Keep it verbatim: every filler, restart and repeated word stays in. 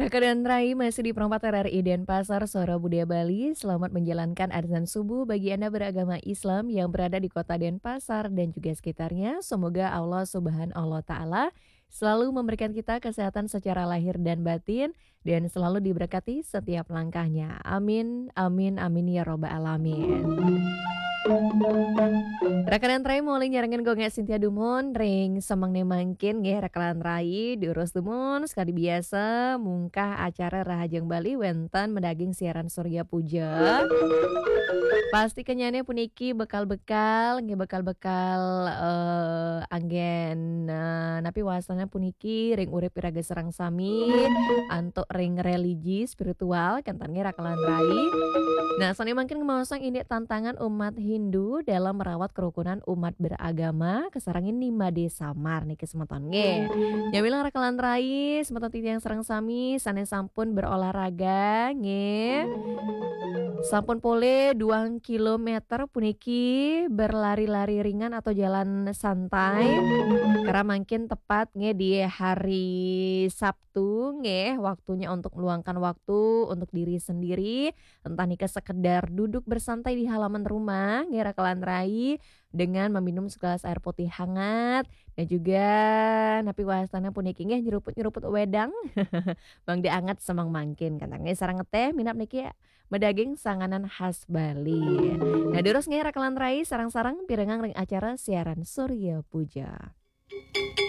Kakak dan Rai masih di Perempat R R I Denpasar, Suara Budaya Bali. Selamat menjalankan azan subuh bagi Anda beragama Islam yang berada di kota Denpasar dan juga sekitarnya. Semoga Allah Subhanahu wa Ta'ala selalu memberikan kita kesehatan secara lahir dan batin dan selalu diberkati setiap langkahnya. Amin, amin, amin ya robbal alamin. Rakanan Rai mulai nyarengan gongnya Sintia Dumon ring semang ne mangkin nggih rakanan Rai diurus Dumon sekali biasa mungkah acara Rahajeng Bali wenten medaging siaran Surya Puja. Pasti kenyane puniki bekal-bekal nggih bekal-bekal eh, anggen eh, napi wasana puniki ring urip iraga sareng sami antuk ring religi spiritual kenten nggih rakanan Rai. Nah, sane mangkin ngemaosang indik tantangan umat Hindu dalam merawat kerukunan umat beragama kasarengin Nimade Samar niki semeton nggih. Nyamilang rakanan Rai, semeton titiang sareng sami sane sampun berolahraga nggih. Sampun pole duang kilometer puniki berlari-lari ringan atau jalan santai. Karena mungkin tepat nggih di hari Sabtu nggih, waktunya untuk meluangkan waktu untuk diri sendiri. Entah nika sekedar duduk bersantai di halaman rumah nggih rakanan Rai dengan meminum segelas air putih hangat dan juga napi wastana puniki nggih nyeruput-nyeruput wedang. Mangda anget semang mangkin kenten nggih sareng teh minab niki medaging sanganan khas Bali. Nah, durus nggih rakanan Rai sareng-sareng pirengang ring acara siaran Surya Puja.